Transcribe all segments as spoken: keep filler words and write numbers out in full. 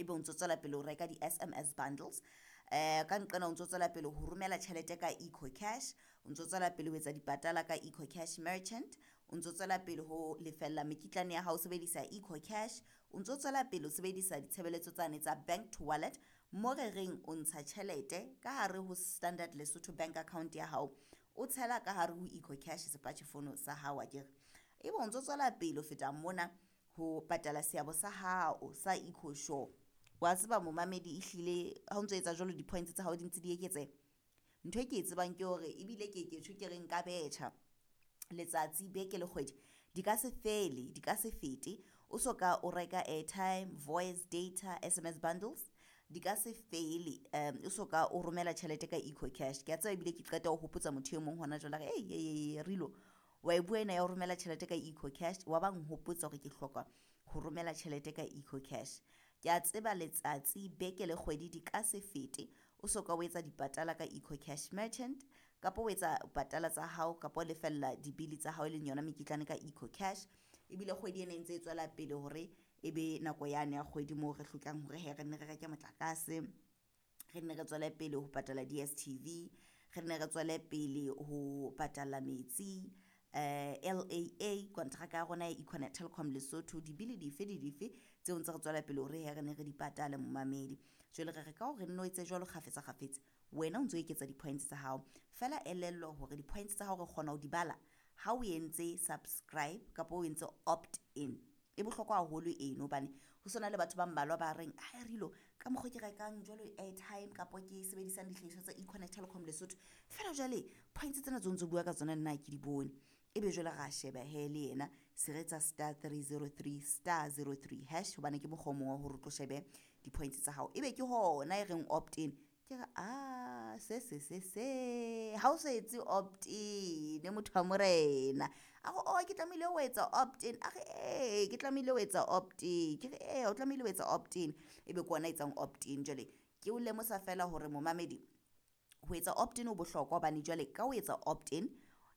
Ebe o ntso tswela pele ho reka di-S M S bundles, um ka nqena o ntso tswela pele ho romela tjhelete ka EcoCash, o ntso tswela pele ho etsa dipatala ka EcoCash merchant, o ntso tswela pele ho lefella mekitlane ya hao o sebedisa EcoCash, o ntso tswela pele ho sebedisa ditshebeletso tsane tsa bank to wallet, mo re reng o ntsha tjhelete ka hare ho Standard Lesotho Bank account ya hao, o tshela ka hare ho EcoCash sepatjhe sa hao akere. Ebe o ntso tswela pele ho feta mona ho patala seabo sa hao sa EcoSure. Wa tseba momamedi, ehlile ha o ntso etsa jwalo di-points tsa hao di ntse di eketseha. Ntho e ke e tsebang ke hore ebile ke ke tjho ke re nka betjha letsatsi, beke le kgwedi di ka se fele, di ka se fete o so ka o reka airtime, voice, data, S M S bundles, di ka se fele o so ka o romela tjhelete ka EcoCash. Ke a tseba ebile ke qeta ho hopotsa motho e mong hona jwale a re Rilo wa e bua ena ya ho romela tjhelete ka EcoCash, wa ba nhopotsa hore ke hloka ho romela tjhelete ka EcoCash. Ke a tseba letsatsi, beke le kgwedi di ka se fete o so ka o etsa dipatala ka EcoCash merchant, kapa o etsa patala tsa hao, kapa o lefella dibili tsa hao e leng yona mekitlane ka EcoCash. Ebile kgwedi ena e ntse e tswela pele hore ebe nako yane ya kgwedi moo re hlokang hore hee re nne re reke motlakase, re nne re tswele pele ho patala D S T V, re nne re tswele pele ho patala metsi, L A A kontraka ya rona ya Econet Telkom Lesotho, dibili dife le dife tseo ntse re tswela pele hore he re ne re di patale momamedi. Jwale re re ka hore nno etse jwalo kgafetsa kgafetsa, wena o ntso eketsa di-points tsa hao. Feela elellwa hore di-points tsa hao re kgona ho di bala ha o entse subscribe kapa o entse opt in. E bohlokwa haholo eno hobane ho sona le batho ba mmalwa ba reng a Rilo ka mokgwa ke rekang jwalo airtime kapa ke sebedisang dihlahiswa tsa Econet Telkom Lesotho, feela jwale points tsena tseo ntso bua ka tsona nna ha ke di bone. Ebe jwale ra sheba he le yena se re etsa star three zero three star zero three hash, hobane ke mokgwa o mong wa hore o tlo shebe di-points tsa hao. Ebe ke hona e reng opt in, ke re a se se se se ha o so etse opt in motho wa morena, a re o ke tlamehile ho etsa opt in, a re ee ke tlamehile ho etsa opt in, ke re ee o tlamehile ho etsa opt in, ebe ke ona etsang opt in. Jwale ke o lemosa feela hore momamedi, ho etsa opt in ho bohlokwa hobane jwale ka ho etsa opt in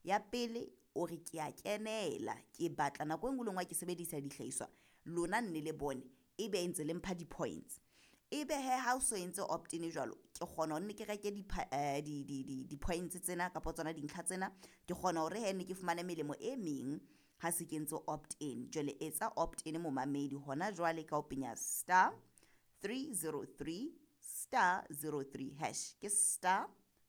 ya pele o re ke a kenela, ke batla nako e nngwe le nngwe ha ke sebedisa dihlahiswa lona nne le bone ebe ntse le mpha di-points. Ebe hee ha o so entse opt in jwalo, ke kgona hore nne ke reke di-points tsena kapa tsona dintlha tsena, ke kgona hore hee nne ke fumane melemo e meng ha se ke entse opt in. Jwale etsa opt in momamedi hona jwale ka ho penya star three zero three star zero three hash, ke star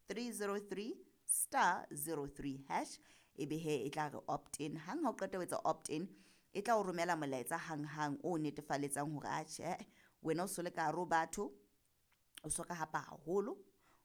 three zero three star zero three hash, ebe hee e tla re opt in. Hang ha o qeta ho etsa opt in, e tla o romela molaetsa hanghang o netefaletsang hore atjhe wena o so le ka hare ho batho, o so ka hapa haholo,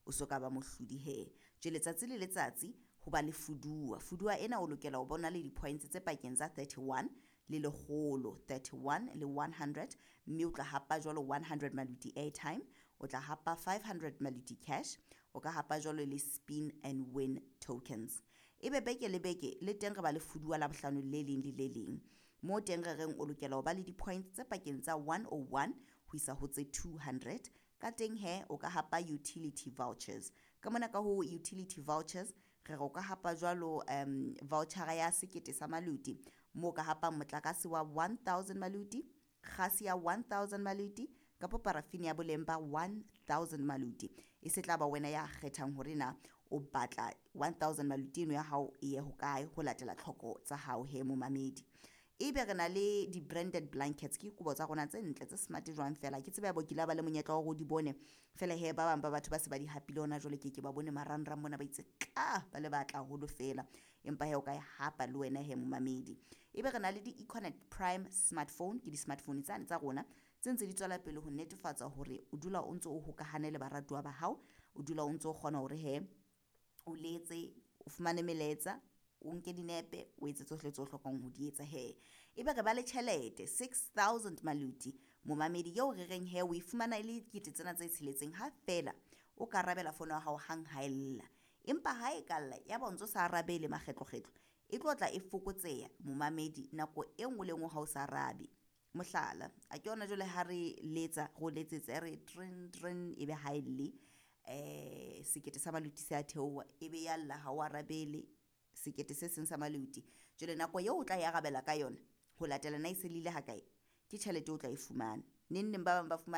o so ka ba mohlodi hee. Jwale letsatsi le letsatsi ho ba le fuduwa, fuduwa ena o lokela ho bona le di-points tse pakeng tsa thirty one le lekgolo, thirty one le one hundred, mme o tla hapa jwalo one hundred maluti airtime, o tla hapa five hundred maluti cash, o ka hapa jwalo le spin and win tokens. Ebe beke le beke le teng re ba le fuduwa la bohlano le leng le le leng, mo teng re reng o lokela ho ba le di-points tse pakeng tsa one oh one ho isa ho tse two hundred. Ka teng he o ka hapa utility vouchers. Ka mona ka ho utility vouchers re re o ka hapa jwalo um voucher ya sekete sa maluti, mo ka hapang motlakase wa one thousand maluti, kgase ya one thousand maluti, kapa parafini ya boleng ba one thousand maluti. E se tla ba wena ya kgethang hore na o batla one thousand maluti eno ya hao e ye hokae ho latela tlhoko tsa hao he momamedi. Ebe re na le di-branded blankets, ke dikobo tsa rona tse ntle tse smart jwang fela, ke tsebe ya bo kile ba le monyetla wa hore o di bone fela he ba bang ba batho ba se ba di hapile hona jwale, ke ke ba bone marangrang mona ba itse tla ba le batla haholo fela, empa he o ka e hapa le wena he momamedi. Ebe re na le di-Econet Prime smartphone, ke di-smartphone tsane tsa rona tse ntse di tswela pele ho netefatsa hore o dula o ntso o hokahane le baratuwa ba hao, o dula o ntso o kgona hore he o letse, o fumane melaetsa, o nke dinepe, o etse tsohle tseo hlokang ho di etsa he. Ebe re ba le tjhelete six thousand maluti momamedi eo re reng he o e fumana e le dikete tsena tse tsheletseng ha feela o ka arabela fono ya hao hang ha e lla. Empa ha e ka lla ya ba o ntso sa arabele makgetlokgetlo, e tlo tla e fokotseha momamedi nako e nngwe le nngwe ha o sa arabe. Mohlala, a ke yona jwale ha re letsa re o letsetse re trin trin ebe ha e lle, eh sekete sa maluti se a theoha, ebe ya lla ha o arabele sekete se seng sa maluti. Jwale nako eo o tla e arabela ka yona ho latela na e se lile ha kae, ke tjhelete o tla e fumana. Neng neng ba bang ba fumana